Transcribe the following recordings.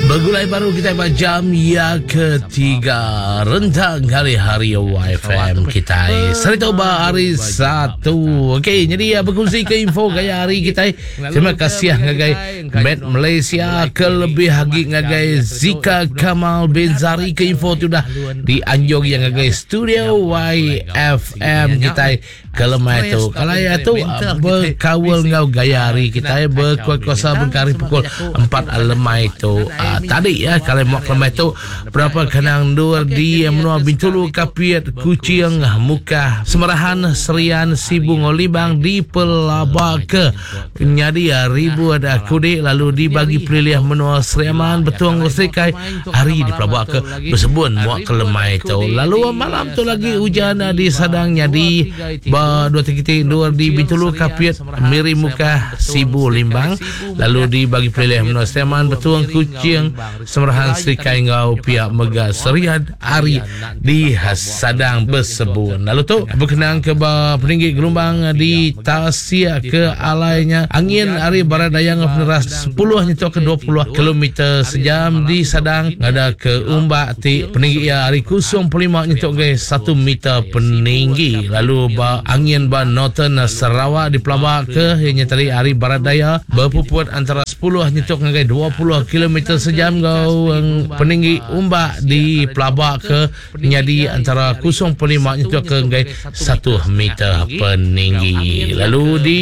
Begulai baru kita ba jam ya ketiga rentang kali hari YFM kita. Serita ba hari Satu. Okey, jadi ya berkongsi ke info gaya hari kita. Terima kasih ngagai Met Malaysia kelebih agi ngagai Zika Kamal bin Zari ke info tu dah dianjung yang ngagai studio YFM kita. Ke lemai tu, kalai tu bekaul enggau gaya hari kitai bekuat-kuasa bengkah hari pukul empat lemai tu. Tadi ya, kalai muak lemai tu berapa kandang endur di menua Bintulu, Kapit, Kuching, Mukah, Semerahan, Serian, Sibu enggau Libang dipelabaka nyadi ribut kudi lalu dibagi pelilih menua Sri Aman, Betong enggau Serikai hari dipelabaka Besebun muak ke lemai tu. Lalu malam tu lagi ujan disadang nyadi ba dua tiga iti endur di Bintulu, Kapit, Miri Mukah, Sibu, Limbang lalu di bagi pelilih menua Seman, Betong, Kuching, Semerahan, Serikai enggau pia mega Serian ari disadang besebun. Lalu tu bekenang ke ba peninggi gelumbang di Tasik ke alai nya angin ari barat daya enggau peneras sepuluh nyentuk ke 20 kilometer sejam disadang ngada ke umbak ti peninggi iya ari 0.5 nyentuk ngagai satu meter peninggi lalu ba angin ba Northern Sarawak dipelaba ke iya nya tadi ari barat daya bepuput antara sepuluh nyentuk ngagai 20 kilometer sejam enggau peninggi umbak dipelaba ke nyadi antara 0.5 nyentuk ke enggai satu meter peninggi. Lalu di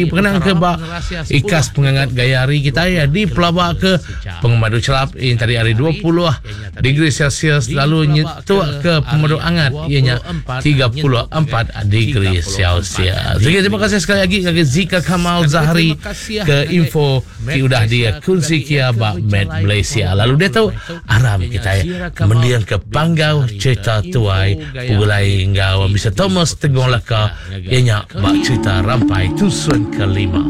pengenang ke ba ikas pengangat gaya hari kitai dipelaba ke pengemadu chelap iya tadi ari 20 degree Celsius lalu nyentuk ke pemadu angat iya nya 34 degree Celsius. Jadi terima kasih sekali lagi ngagai Zika Kamal Zahari ke info ti udah dikunsi kia ba Met Malaysia. Lalu diatu aram kitai mending ke panggau cerita tuai pegulai enggau Mister Thomas Tegong Laka iya nya ba cerita Rampai Tusun Kelima.